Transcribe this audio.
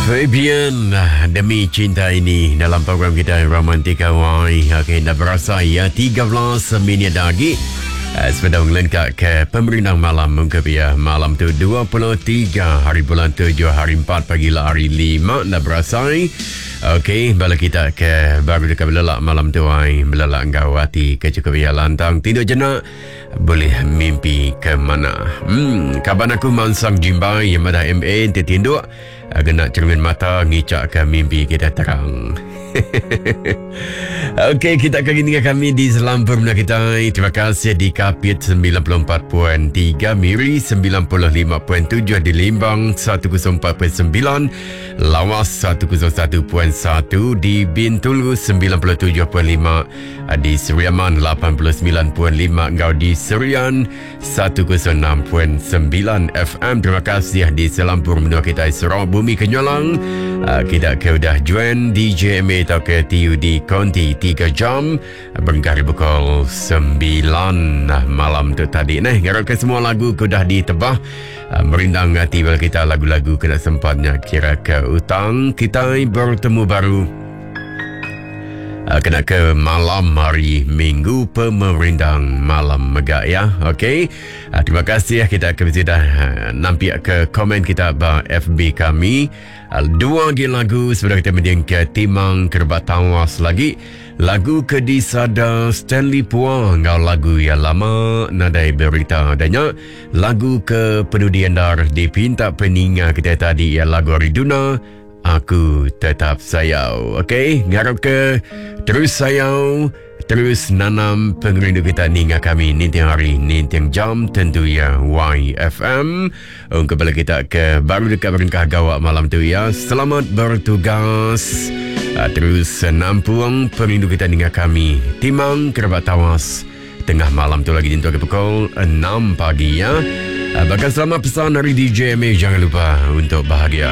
Fabian demi cinta ini dalam program kita Romantika Wai. Okey, dah berasa ya 13 minit dah lagi. Eh, Sepeda ngelengkak ke pemerindang malam mungkin ya malam tu 23 hari bulan 7 hari 4 pagi lah hari 5 dah berasai. Okey, bala kita ke baru dekat belelak malam tu ai, belelak enggau hati ke cukup ya lantang tidur jenak boleh mimpi ke mana. Hmm, kaban aku mansang jimbai yang madah MA enti tinduk Gena cermin mata ngicak ke mimpi kita terang. Okey, kita akan dengan kami di Selampur Menua kita. Terima kasih di Kapit 94.3, Miri 95.7 di Limbang 104.9, Lawas 101.1 di Bintulu 97.5, di Seri Aman 89.5 enggau di Serian 106.9 FM. Terima kasih di selampur menua kita Sarawak Bumi Kenyalang. Uh, kita ke udah join DJMA atau ke TUD Konti 3 jam berengkah dari pukul 9 malam tu tadi. Nah, ngarap ke semua lagu ke udah ditebah uh, merindang hati bala kita lagu-lagu kena sempatnya kira ke utang kita bertemu baru Kena ke malam hari Minggu pemerindang malam mega ya. Okey. Uh, terima kasih kita ke sudah uh, nampiak ke komen kita ba FB kami. Uh, dua lagi lagu sebelum kita mending ke Timang Kerbat Tawas lagi. Lagu ke disada Stanley Pua ngau lagu yang lama nadai berita adanya. Lagu ke penudi endar dipinta peninga kita tadi ya lagu hari Duna. Aku tetap sayau. Okey, ngarap ke terus sayau, terus nanam pengerindu kita ninga kami ninting hari, ninting jam tentu ya YFM. Ungkup bala kita ke baru dekat berengkah gawak malam tu ya. Selamat bertugas. Ah, terus nampung pengerindu kita ninga kami. Timang kerabat tawas. Tengah malam tu lagi nyentuk ke pukul 6 pagi ya. Ah, Bahkan selamat pesan dari DJ MA jangan lupa untuk bahagia.